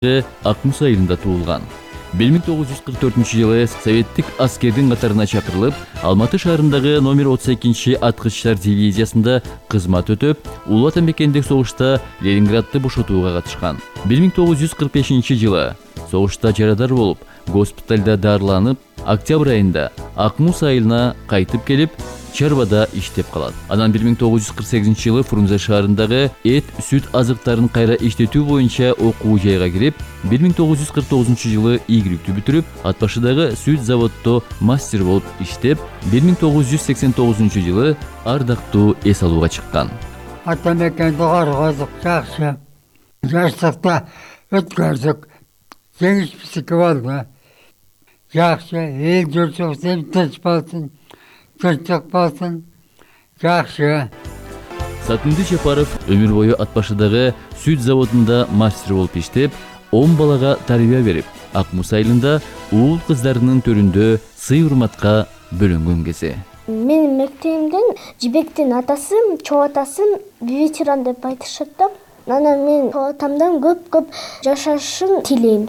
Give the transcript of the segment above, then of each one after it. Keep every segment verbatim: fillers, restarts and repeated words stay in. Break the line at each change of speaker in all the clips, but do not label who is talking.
Акмус айылында туулган. бир миң тогуз жүз кырк төртүнчү жылы советтик аскердин катарына чакырылып, Алматы шаарындагы номер отуз экинчи аткычтар дивизиясында кызмат өтөп, Улуу Ата мекендик согушта Ленинградты бошотууга катышкан. бир миң тогуз жүз кырк бешинчи жылы согушта жарадар болуп, госпиталда дарыланып, октябрь айында Акмус айылына кайтып келип, чарбада иштеп калат. Анан бир миң тогуз жүз кырк сегизинчи жылы Фрунзе шаарындагы эт, сүт азыктарын кайра иштетүү боюнча окуу жайга кирип, бир миң тогуз жүз кырк тогузунчу жылы ийгиликтүү бүтүрүп, Ат башыдагы сүт заводдо мастер болуп иштеп, бир миң тогуз жүз сексен тогузунчу жылы ардактуу эс алууга чыккан.
Ата мекенди коргодук, жакшы. Жаштыкта өткөрдүк. Жеңиш биздики болду. Жакшы, эл журтубуз тынч болсун. Тынчтык болсун. Жакшы.
Сатынды Жапаров өмүр бою Ат башыдагы сүт заводунда мастер болуп иштеп, он балага тарбия берип, Акмус айылында уул кыздарынын төрүндө сый-урматка бөлөнгөн кези.
Менин мектебимден Жибектин атасы, чоо атасын ветеран деп айтышат да. Анан мен чоо атамдан көп-көп жашашын тилейм.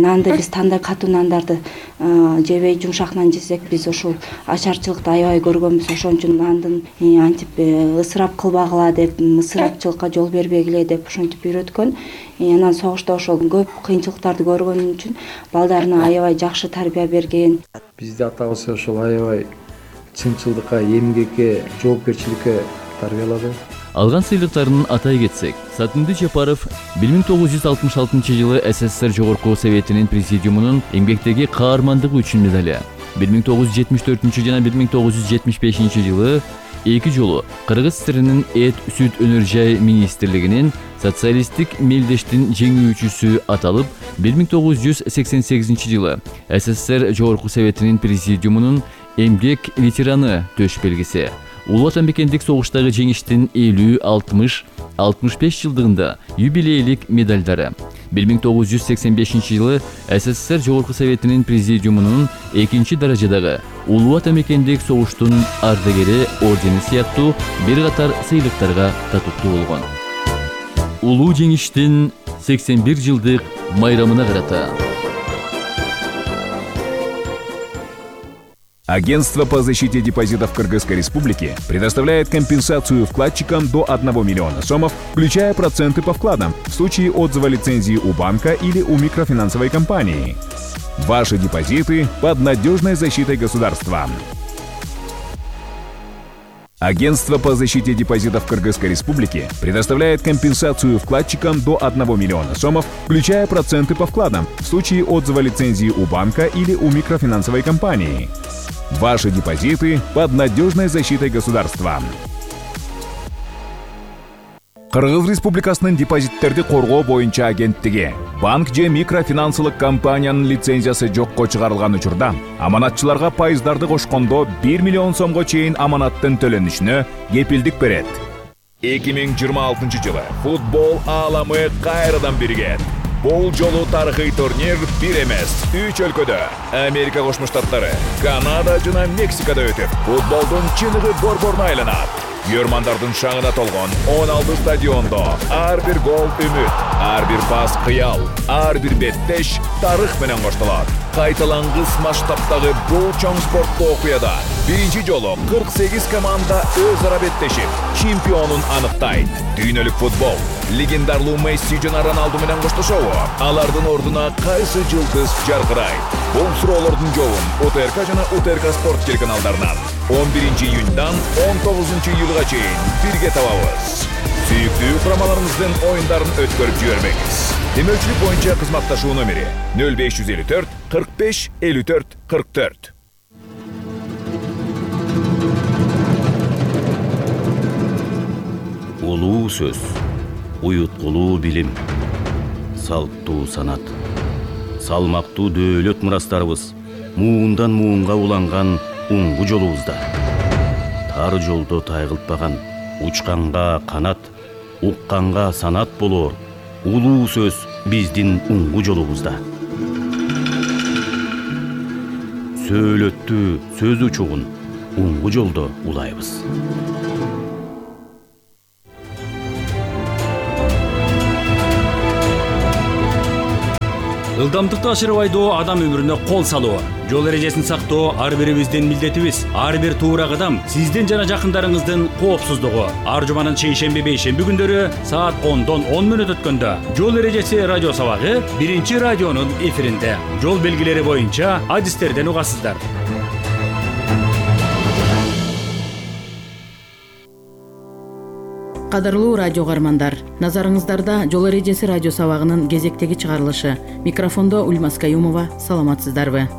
Нанды биз кандай катуу нандарды жебей жумшак нан жесек, биз ошол ачарчылыкты аябай көргөнбүз. Ошон үчүн нандын антип ысырап кылбагыла деп, ысырапчылыкка жол бербегиле деп ошентип үйрөткөн. Анан согушта ошол көп кыйынчылыктарды көргөн үчүн балдарына аябай жакшы тарбия берген.
Бизди атабыз ошол аябай чынчылдыкка, эмгекке, жоопкерчиликке тарбиялады.
Алган сыйлыктарын атай кетсек, Сатынды Жапаров бир миң тогуз жүз алтымыш алтынчы жылы СССР Жогорку Советинин президиумунун эмгектеги каармандыгы үчүн медали, бир миң тогуз жүз жетимиш төртүнчү жана бир миң тогуз жүз жетимиш бешинчи жылы эки жолу Кыргыз ССРинин эт, сүт өнөр жай министрлигинин социалисттик мелдештин жеңүүчүсү аталып, бир миң тогуз жүз сексен сегизинчи жылы СССР Жогорку Советинин президиумунун эмгек ветераны төш белгиси, Улуу Ата мекендик согуштагы жеңиштин элүү, алтымыш, алтымыш беш жылдыгында юбилейлик медалдары, бир миң тогуз жүз сексен бешинчи жылы СССР Жогорку Советинин президиумунун экинчи даражадагы Улуу Ата мекендик согуштун ардагери ордени сыяктуу бир катар сыйлыктарга татыктуу болгон. Улуу жеңиштин сексен бир жылдык майрамына карата
Агентство по защите депозитов Кыргызской Республики предоставляет компенсацию вкладчикам до одного миллиона сомов, включая проценты по вкладам, в случае отзыва лицензии у банка или у микрофинансовой компании. Ваши депозиты под надежной защитой государства. Агентство по защите депозитов Кыргызской Республики предоставляет компенсацию вкладчикам до одного миллиона сомов, включая проценты по вкладам, в случае отзыва лицензии у банка или у микрофинансовой компании. Ваши депозиты под надежной защитой государства. Кыргыз Республикасынын депозиттерди коргоо боюнча агенттиги банк же микрофинансылык компаниянын лицензиясы жокко чыгарылган учурда аманатчыларга пайыздарды кошкондо бир миллион сомго чейин аманаттын төлөнүшүнө кепилдик берет. эки миң жыйырма алтынчы жылы футбол ааламы кайрадан биригет. Бул жолу тарыхый турнир бир эмес, үч өлкөдө, Америка Кошмо Штаттары, Канада жана Мексикада өтүп, футболдун чыныгы борборуна айланат. Көрмандардын шаңына толгон он алты стадиондо ар бир гол үмүт, ар бир пас кыял, ар бир беттеш тарых менен коштолот. Кайталангыс масштабтагы бул чоң спорттуу окуяда биринчи жолу кырк сегиз команда өз ара беттешип, чемпионун аныктайт. Дүйнөлүк футбол легендарлуу Месси жана Роналду менен коштошобу? Алардын ордуна кайсы жылдыз жаркырайт? Бул суроолордун жообун УТРК жана УТРК спорт телеканалдарынан он биринчи июньдан он тогузунчу июлга чейин бирге табабыз. Сүйүктүү курамаларыңыздын оюндарын өткөрүп жибербеңиз. Демөчүлүк боюнча кызматташуу номери нөл беш жүз элүү төрт кырк беш элүү төрт кырк төрт.
Улуу сөз, уюткулуу билим, салттуу санат, салмактуу дөөлөт мурастарыбыз муундан муунга уланган уңгу жолубузда. Тар жолдо тайгылтпаган, учканга канат, укканга санат болоор улуу сөз биздин уңгу жолубузда. Сөөлөттү сөз учугун уңгу жолдо улайбыз. Ылдамдыкты ашырып айдоо адам өмүрүнө кол салуу. Жол эрежесин сактоо ар бирибиздин милдетибиз. Ар бир туура кадам сиздин жана жакындарыңыздын коопсуздугу. Ар жуманын шейшемби бейшемби күндөрү саат ондон он мүнөт өткөндө жол эрежеси радио сабагы биринчи радионун эфиринде. Жол белгилери боюнча адистерден угасыздар.
Кадырлуу радио каармандар, назарыңыздарда жол эрежеси радио сабагынын кезектеги чыгарылышы. Микрофондо Ульмас Каюмова, саламатсыздарбы?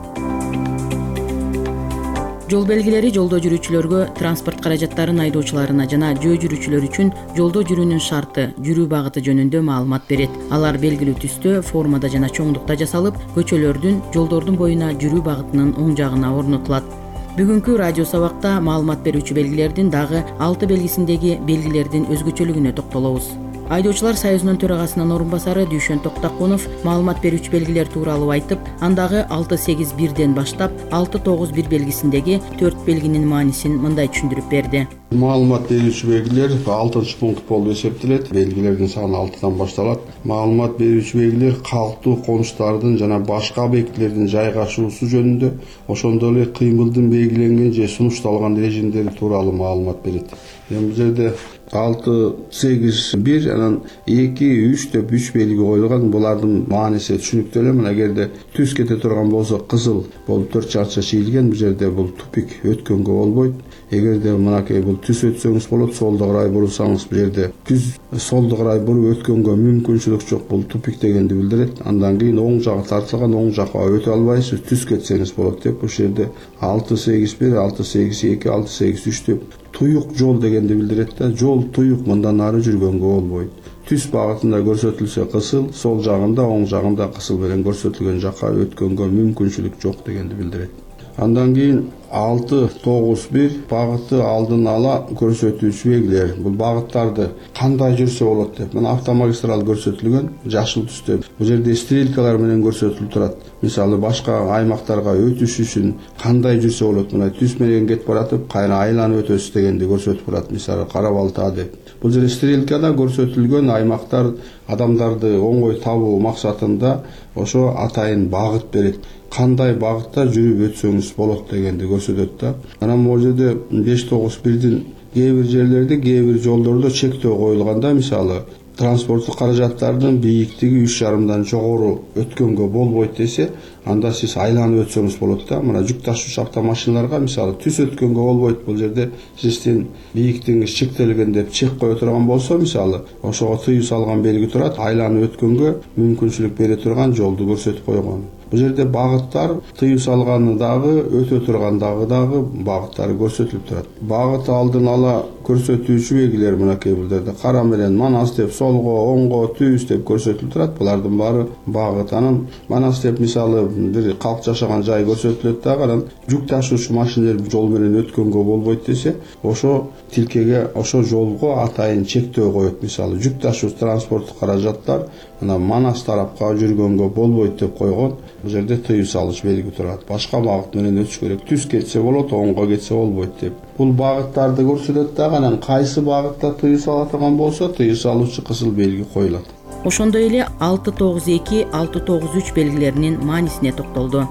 Жол белгилери жолдо жүрүүчүлөргө, транспорт каражаттарын айдоочуларына жана жөө жүрүүчүлөр үчүн жолдо жүрүүнүн шарты, жүрүү багыты жөнүндө маалымат берет. Алар белгилүү түстө, формада жана чоңдукта жасалып, көчөлөрдүн, жолдордун боюна жүрүү багытынын оң жагына орнотулат. Бүгүнкү радио сабакта маалымат берүүчү белгилердин дагы алты белгисиндеги белгилердин өзгөчөлүгүнө токтолобуз. Айдоочулар союзунун төрагасынын орун басары Дүйшөн Токтакунов маалымат берүүчү белгилер тууралуу айтып, андагы алты сегиз бирден баштап алты тогуз бир белгисиндеги төрт белгинин маанисин мындай түшүндүрүп берди.
Маалымат берүүчү белгилер алтынчы пункт болуп эсептелет. Белгилердин саны алтыдан башталат. Маалымат берүүчү белгилер калктуу конуштардын жана башка объектилердин жайгашуусу жөнүндө, ошондой эле кыймылдын белгиленген же сунушталган режимдери тууралуу маалымат берет. Эми бул жерде алты сегиз бир анан эки үч деп үч белги коюлган. Булардын мааниси түшүнүктүү эле. Мына эгерде түз кете турган болсо кызыл болуп төрт чарча чийилген, бул жерде бул тупик өткөнгө болбойт. Эгерде мынакей бул түз өтсөңүз болот, солдо карай бурсаңыз бул жерде түз солдо карай буруп өткөнгө мүмкүнчүлүк жок, бул тупик дегенди билдирет. Андан кийин оң жагы тартылган, оң жакка өтө албайсыз, түз кетсеңиз болот деп бул жерде алты сегиз бир, алты сегиз эки, алты сегиз үч деп туюк жол дегенди билдирет да. Жол туюк, мындан ары жүргөнгө болбойт. Түз багытында көрсөтүлсө кысыл, сол жагында, оң жагында кысыл менен көрсөтүлгөн жакка өткөнгө мүмкүнчүлүк жок дегенди билдирет. Андан кийин алты тогуз бир багыты алдын ала көрсөтүүчү белгилер. Бул багыттарды кандай жүрсө болот деп. Мына автомагистрал көрсөтүлгөн жашыл түстө. Бул жерде стрелкалар менен көрсөтүлүп турат. Мисалы башка аймактарга өтүш үчүн кандай жүрсө болот. Мына түз менен кетип баратып, кайра айланып өтөсүз дегенди көрсөтүп турат. Мисалы Кара Балта деп. Бул жерде стрелкада көрсөтүлгөн аймактар адамдарды оңой табуу максатында ошо атайын багыт берет. Кандай багытта жүрүп өтсөңүз болот дегенди көрсөтөт да. Анан бул жерде беш тогуз бирдин кээ бир жерлерде, кээ бир жолдордо чектөө коюлганда, мисалы транспорттук каражаттардын бийиктиги үч жарымдан жогору өткөнгө болбойт десе, анда сиз айланып өтсөңүз болот да. Мына жүк ташуучу автомашиналарга мисалы түз өткөнгө болбойт. Бул жерде сиздин бийиктигиңиз чектелген деп чек кое турган болсо, мисалы ошого тыюу салган белги турат, айланып өткөнгө мүмкүнчүлүк бере турган жолду көрсөтүп койгон. Бул жерде багыттар тыюу салганы дагы, өтө тургандагы дагы багыттары көрсөтүлүп турат. Багыт алдын ала көрсөтүүчү белгилер мынакей бул жерде кара менен Манас деп, солго, оңго, түз деп көрсөтүлүп турат. Булардын баары багыт. Анан Манас деп мисалы бир калк жашаган жай көрсөтүлөт дагы. Анан жүк ташуучу машиналар жол менен өткөнгө болбойт десе, ошо тилкеге, ошо жолго атайын чектөө коет. Мисалы жүк ташуучу транспорттук каражаттар мына Манас тарапка жүргөнгө болбойт деп койгон. Бул жерде тыюу салыш белги турат. Башка багыт менен өтүш керек. Түз кетсе болот, оңго кетсе болбойт деп. Бул багыттарды көрсөтөт дагы. Анан кайсы багытта тыюу сала турган болсо, тыюу салуучу кызыл белги коюлат.
Ошондой эле алты тогуз эки, алты тогуз үч белгилеринин маанисине токтолду.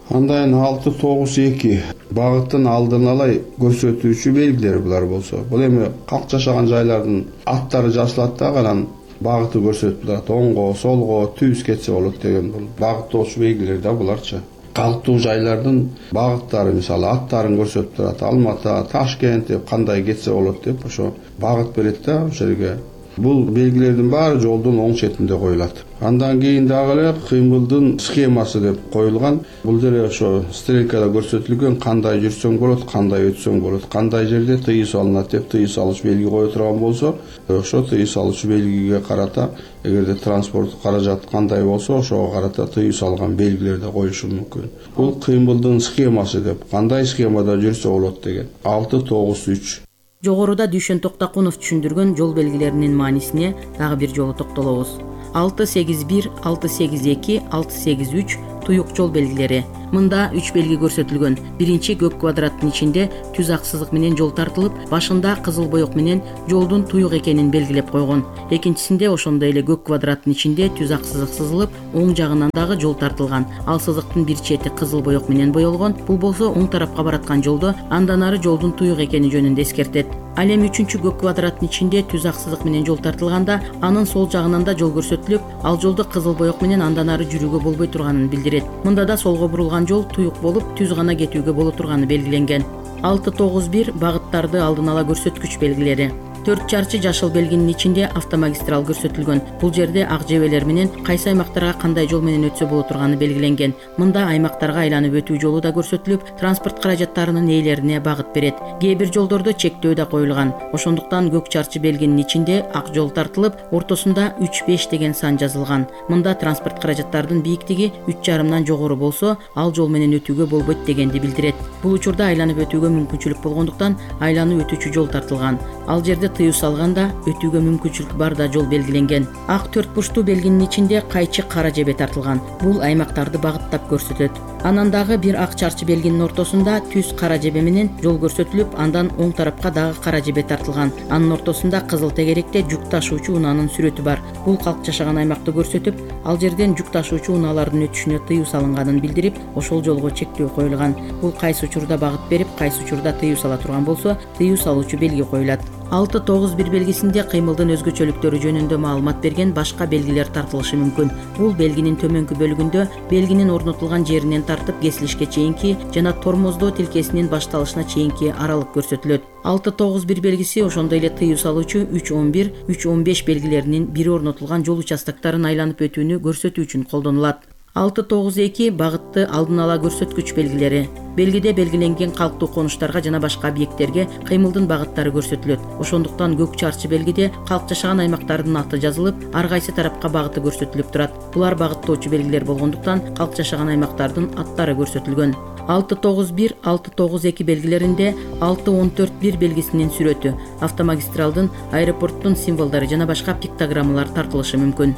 Андан алты тогуз эки багыттын алдын ала көрсөтүүчү белгилер булар болсо. Бул эми калк жашаган жайлардын аттары жазылат дагы, анан багыты көрсөтүп турат. Оңго, солго, түз кетсе болот деген бул багыттоочу белгилер да буларчы. Калктуу жайлардын багыттары мисалы аттарын көрсөтүп турат. Алматы, Ташкент деп кандай кетсе болот деп ошо багыт берет да ошол жерге. Бул белгилердин баары жолдун оң четинде коюлат. Андан кийин дагы эле кыймылдын схемасы деп коюлган. Бул жерде ошо стрелкада көрсөтүлгөн кандай жүрсөң болот, кандай өтсөң болот, кандай жерде тыюу салынат деп тыюу салыш белги кое турган болсо, ошо тыюу салуучу белгиге карата эгерде транспорттук каражат кандай болсо, ошого карата тыюу салган белгилерди коюшу мүмкүн. Бул кыймылдын схемасы деп, кандай схемада жүрсө болот деген. алты тогуз үч.
Жогоруда Дүйшөн Токтакунов түшүндүргөн жол белгилеринин маанисине дагы бир жолу токтолобуз. алты сегиз бир, алты сегиз эки, алты сегиз үч туюк жол белгилери. Мында үч белги көрсөтүлгөн. Биринчи көк квадраттын ичинде түз ак сызык менен жол тартылып, башында кызыл боек менен жолдун туюк экенин белгилеп койгон. Экинчисинде ошондой эле көк квадраттын ичинде түз ак сызык сызылып, оң жагынан дагы жол тартылган. Ал сызыктын бир чети кызыл боек менен боелгон. Бул болсо оң тарапка бараткан жолдо, андан ары жолдун туюк экени жөнүндө эскертет. Ал эми үчүнчү көк квадраттын ичинде түз ак сызык менен жол тартылганда, анын сол жагынан да жол көрсөтүлүп, ал жолду кызыл боек менен андан ары жүрүүгө болбой турганын билдирет. Мында да солго бурулган жол туюк болуп, түз гана кетүүгө боло турганы белгиленген. алты тогуз бир багыттарды алдын ала көрсөткүч белгилери. төрт чарчы жашыл белгинин ичинде автомагистрал көрсөтүлгөн. Бул жерде ак жебелер менен кайсы аймактарга кандай жол менен өтсө боло турганы белгиленген. Мында аймактарга айланып өтүү жолу да көрсөтүлүп, транспорт каражаттарынын ээлерине багыт берет. Кээ бир жолдордо чектөө да коюлган. Ошондуктан көк чарчы белгинин ичинде ак жол тартылып, ортосунда үч беш деген сан жазылган. Мында транспорт каражаттарынын бийиктиги үч жарымдан жогору болсо, ал жол менен өтүүгө болбойт дегенди билдирет. Бул учурда айланып өтүүгө мүмкүнчүлүк болгондуктан айланып өтүүчү жол тартылган. Ал жерде тыюу салганда өтүүгө мүмкүнчүлүк бар да жол белгиленген. Ак төрт бурчтуу белгинин ичинде кайчы кара жебе тартылган. Бул аймактарды багыттап көрсөтөт. Анан дагы бир ак чарчы белгинин ортосунда түз кара жебе менен жол көрсөтүлүп, андан оң тарапка дагы кара жебе тартылган. Анын ортосунда кызыл тегеректе жүк ташуучу унаанын сүрөтү бар. Бул калк жашаган аймакты көрсөтүп, ал жерден жүк ташуучу унаалардын өтүшүнө тыюу салынганын билдирип, ошол жолго чектөө коюлган. Бул кайсы учурда багыт берип, кайсы учурда тыюу сала турган болсо, тыюу салуучу белги коюлат. алты тогуз бир белгисинде кыймылдын өзгөчөлүктөрү жөнүндө маалымат берген башка белгилер тартылышы мүмкүн. Бул белгинин төмөнкү бөлүгүндө белгинин орнотулган жеринен тартып кесилишке чейинки жана тормоздоо тилкесинин башталышына чейинки аралык көрсөтүлөт. алты тогуз бир белгиси ошондой эле тыюу салуучу үч он бир, үч он беш белгилеринин бири орнотулган жол участоктарын айланып өтүүнү көрсөтүү үчүн колдонулат. алты тогуз эки багытты алдын ала көрсөткүч белгилери. Белгиде белгиленген калктуу конуштарга жана башка объекттерге кыймылдын багыттары көрсөтүлөт. Ошондуктан көк чарчы белгиде калк жашаган аймактардын аты жазылып, ар кайсы тарапка багыты көрсөтүлүп турат. Булар багыттоочу белгилер болгондуктан калк жашаган аймактардын аттары көрсөтүлгөн. алты тогуз бир, алты тогуз эки белгилеринде алты он төрт бир белгисинин сүрөтү, автомагистралдын, аэропорттун символдору жана башка пиктограммалар тартылышы мүмкүн.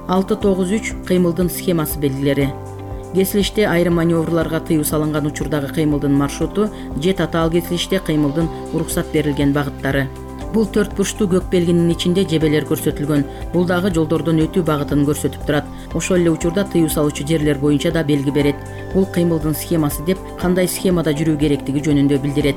алты тогуз үч кыймылдын схемасы белгилери. Кесилиште айрым маневрларга тыюу салынган учурдагы кыймылдын маршруту же татаал кесилиште кыймылдын уруксат берилген багыттары. Бул төрт бурчтуу көк белгинин ичинде жебелер көрсөтүлгөн. Бул дагы жолдордон өтүү багытын көрсөтүп турат. Ошол эле учурда тыюу салуучу жерлер боюнча да белги берет. Бул кыймылдын схемасы деп кандай схемада жүрүү керектиги жөнүндө билдирет.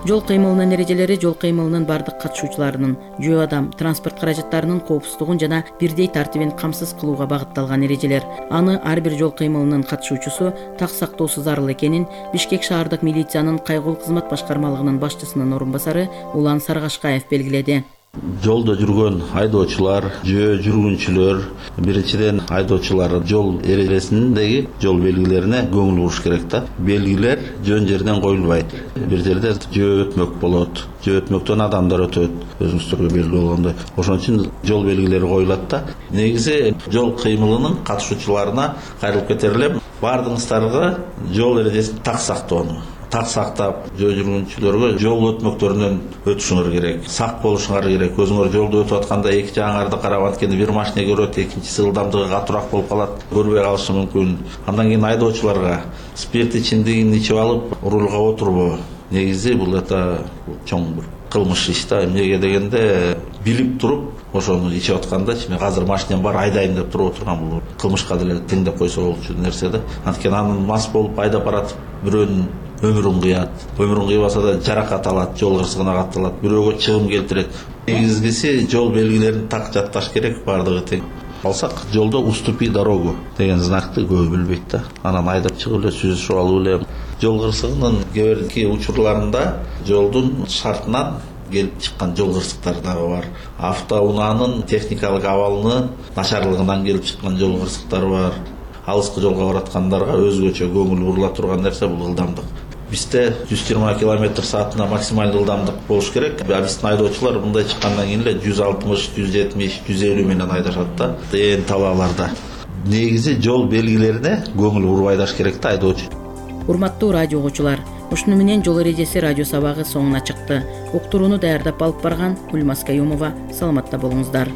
Жол кыймылынын эрежелери жол кыймылынын бардык катышуучуларынын, жөө адам, транспорт каражаттарынын коопсуздугун жана бирдей тартибин камсыз кылууга багытталган эрежелер. Аны ар бир жол кыймылынын катышуучусу так сактоосу зарыл экенин Бишкек шаардык милициянын кайгылуу кызмат башкармалыгынын башчысынын орун басары Улан Саргашкаев белгиледи.
Жолдо жүргөн айдоочулар, жөө жүргүнчүлөр, биринчиден айдоочулар жол эрежесиндеги жол белгилерине көңүл буруш керек да. Белгилер жөн жерден коюлбайт. Бир жерде жөө өтмөк болот, жөө өтмөктөн адамдар өтөт, өзүңүздөргө белгилүү болгондой. Ошон үчүн жол белгилери коюлат да. Негизи жол кыймылынын катышуучуларына кайрылып кетер элем. Бардыгыңыздарга жол эрежесин так сактоону, так сактап, жөө жүргүнчүлөргө жол өтмөктөрүнөн өтүшүңөр керек, сак болушуңар керек. Өзүңөр жолдо өтүп атканда эки жагыңарды карап анткени бир машина көрөт, экинчиси ылдамдыгы катуураак болуп калат, көрбөй калышы мүмкүн. Андан кийин айдоочуларга спирт ичимдигин ичип алып рулга отурбоо. Негизи бул это чоң бир кылмыш иш да. Эмнеге дегенде билип туруп ошону ичип атканда мен азыр машинем бар айдайм деп туруп отурган бул кылмышка деле теңдеп койсо болчу нерсе да. Анткени анын мас болуп айдап баратып бирөөнүн өмүрүн кыят, өмүрүн кыйбаса да жаракат алат, жол кырсыгына катталат, бирөөгө чыгым келтирет. Негизгиси жол белгилерин так жатташ керек, бардыгы тең. Алсак жолдо уступи дорогу деген знакты көбү билбейт да. Анан айдап чыгып эле сүзүшүп алып эле жол кырсыгынын кээ бирки учурларында жолдун шартынан келип чыккан жол кырсыктары дагы бар. Автоунаанын техникалык абалынын начарлыгынан келип чыккан жол кырсыктары бар. Алыскы жолго бараткандарга өзгөчө көңүл бурула турган нерсе бул ылдамдык. Бизде жүз жыйырма километр саатына максималдуу ылдамдык болуш керек. Биздин айдоочулар мындай чыккандан кийин эле жүз алтымыш, жүз жетимиш, жүз элүү менен айдашат да. Ээн талааларда. Негизи жол белгилерине көңүл буруп айдаш керек да айдоочу.
Урматтуу радио угуучулар, ушуну менен жол эрежеси радио сабагы соңуна чыкты. Уктурууну даярдап алып барган Гүлмаз Каюмова. Саламатта болуңуздар.